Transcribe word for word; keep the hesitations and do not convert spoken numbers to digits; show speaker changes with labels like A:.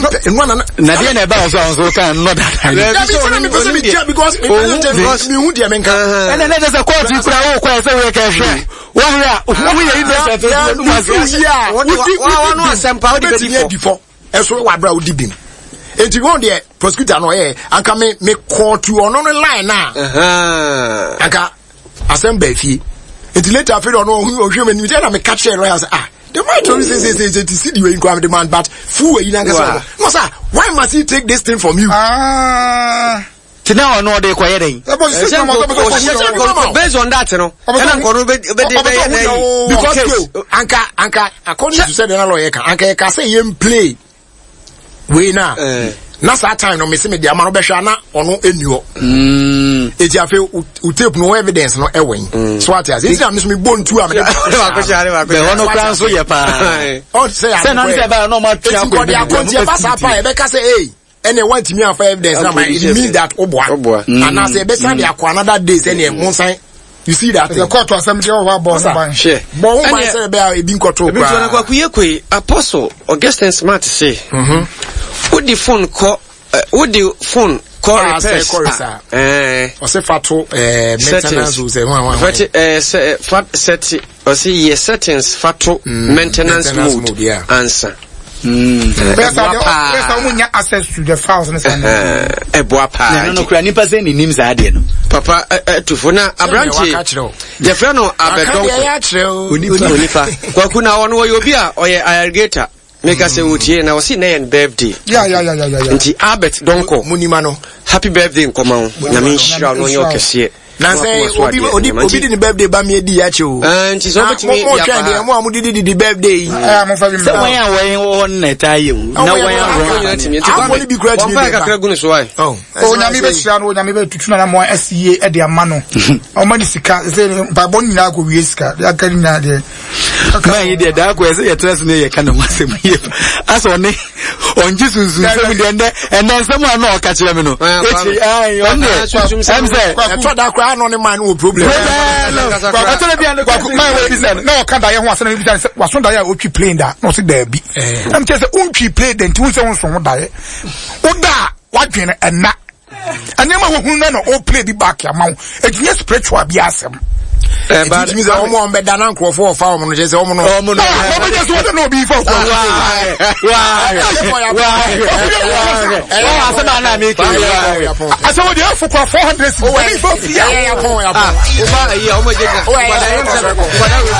A: Mempɛ nnua na
B: Na deɛ na ɛba wɔ so a nso ka nnɔ dada.
A: Dabi, sɛ na mepɛ sɛ metia because mepɛ sɛ mehu deɛ menka.
B: Ɛnna ɛnɛ sɛ kɔɔtu kura wo kɔ ɛsɛ woyɛ kɛhwɛ wɔhwɛ a woyɛ innocent
A: Wofi a wodi
C: Wɔn asɛmpa wode bɛdi
A: wobɛtumi
C: fɔ.
A: adi fɔ ɛso wɔ abere a wodi bim. Enti wɔn deɛ, prosecutor no ɔyɛ anka me me kɔɔtu ɔno no line na anka asɛm baa fie. Nti later afei de ɔno ɔhu ɔhwɛ mu anim sɛ ɛna meka kyerɛ lawyer sɛ, ah, the man told me say say say say ti si di wei nkwa the man but fu wei na nkasa ɔno no sir, why must he take this thing from you?
D: Ah.
B: Nti na ɔno ɔde kɔyɛ dɛn?
D: Ɛbɔ sisi na ɔbɛ sɛ
C: Ɔhyɛ nkɔ based on that no, ɛna nkɔ no bɛ bɛ de bɛyɛ na yi
A: because
C: case.
A: yo, anka anka according to sɛ deɛ na lawyer ka, anka yɛka sɛ yɛn play wei na
C: Eh.
A: na saa time no mesi me de ama no bɛhwɛ a na ɔno ɛni hɔ. Eti afei wo wo tape no, wo evidence no ɛwɔ yi so ate ase, eti na mi so mi bɔ ntu a mi de
C: Baako hyɛ ade, baako hyɛ.
B: Bɛhɔ no kora nso yɛ paa.
A: Ɔ sɛ
B: Sɛ na sɛ ɛbɛyɛ na ɔmo atwe
A: eti
B: akɔ
A: nkɔde akɔnti ɛba saa pa ɛbɛka sɛ ee, ɛnna wɔntumi afa evidence na ma it means that ɔboa
C: Ɔboa.
A: anaasɛ ɛbɛsan de akɔ another day sɛ ɛnna ɛmo nsan, you see that thing?
D: Sɛ kɔɔtu asɛm deɛ, ɔwɔ abɔ ɔno ban.
C: Hwɛ.
A: Bɔ ho ban
C: Ɛnneɛ-
A: sɛ ɛbɛyɛ a ebi nkɔto
C: Ebi nso na
A: koraa.
C: Kwaku yɛ koyi Apostle Augustine Smart se wode phone kɔ ɛ, wode phone kɔ
A: Ah, sɛ
C: repairs
A: kɔ repair.
C: a, ɛɛ
A: ɔsɛ fa to ɛɛ maintenance o sɛ hwan hwan.
C: Fati ɛɛ sɛ fa set, ɔsi yɛ settings fa to maintenance
A: maintenance
C: mode
A: mode, yeah.
C: ansa.
D: Bɛyɛ sɛ
C: Ɛboa
D: deɛ
C: paa.
D: bɛyɛ sɛ ɔmo nya access to the files ne saa.
C: Ɛɛ, ɛboa paa.
B: Na ɛno no
C: Nti,
B: kora nipa sɛ ne nim saa adeɛ no.
C: Papa ɛ- ɛtufo na aberante
A: waka kyerɛ wo.
C: yɛfrɛ no
A: Aka deɛ
C: Abɛdɔnkɔ
A: ɛyɛ akyerɛ o.
C: Onipa Kwaku na ɔno wɔyɛ obi a ɔyɛ irrigator, meka sɛ wɔtie na ɔsi nɛ yɛn birthday.
D: Ya ya ya ya ya ya.
C: Nti Albert Dɔnkɔ,
A: Munima no.
C: happy birthday nkɔma wo, Nyame nhyira wo na ɔnyɛ ɔkɛseɛ.
A: Na sɛ obi obi obi di ne birthday ba mi edi akyi o.
C: Ah, nti sɛ wobɛtumi
A: mo mo
C: de
A: twɛn
C: aba
A: deɛ
C: ha.
A: mo a mo didi didi birthday yi.
D: Ɛyà mo fa bi
B: Sɛ
D: mbra.
B: wɔn a wɔn wɔ hɔ no na ɛtaa yɛ o na wɔn a
C: Wɔn nyinaa tumi. Nti
A: Afɔ
C: Kwame,
A: no bi kura tumi
C: wɔmfa
A: de ba.
C: kakra gu ne so ae.
A: Oh,
D: Onyame bɛhyira no, Onyame bɛtutu nana mo asi yie ɛde ama no. Ɔma ne sika sɛ mpaebɔ no nyinaa kɔ wie, sika deɛ aka no nyinaa deɛ.
B: Maa yi deɛ daa kɔ ɛsɛ yɛtena se ne yɛka ne ho asɛm yie asɛ ɔne ɔngye sunsunsɛm deɛ ɛndɛ ɛndɛ nsɛm a na ɔka kyerɛ me no ekyi ayi ɔno deɛ ɛm sɛ
A: ɛtɔ da koraa na ɔne man no wɔ problem.
B: ɔtɔrɔ bi a ne
D: Kwaku maa wɔ ebisa no na ɔka daeɛ ho asɛm na ebisa no sɛ waso daeɛ a otwi plane da, na ɔsi daabi. Na mi kyerɛ sɛ ontwi plane da, nti wonsɛ wonso ho daeɛ woda a wadwene ɛna nneɛma a wohunu no na o play bi back ama wo, eti nye spiritual bi asɛm.
C: Eh,
A: Eti
C: but-
A: tumi sɛ ɔmo a ɔmo bɛda na nkurɔfoɔ ɔfa ɔmo no kyerɛ sɛ ɔmo no.
B: ɔmo no
D: Ah, ɔmo nyɛ so wɔde na obi fa okɔ.
B: ɔwɔ asɛm a na mi kɛ
D: Asɛ wɔde ɛfo kora four hundred cedis ɛni fa fia.
A: Ɛyɛ yapɔn yapɔn.
C: Ah, woba ayi a, wɔn agye gyina.
A: Oh, ɛyɛ,
C: Nkwadaa
A: ɛyɛ,
C: yɛn sɛ-
A: ɛyɛ,
C: nkwadaa wei-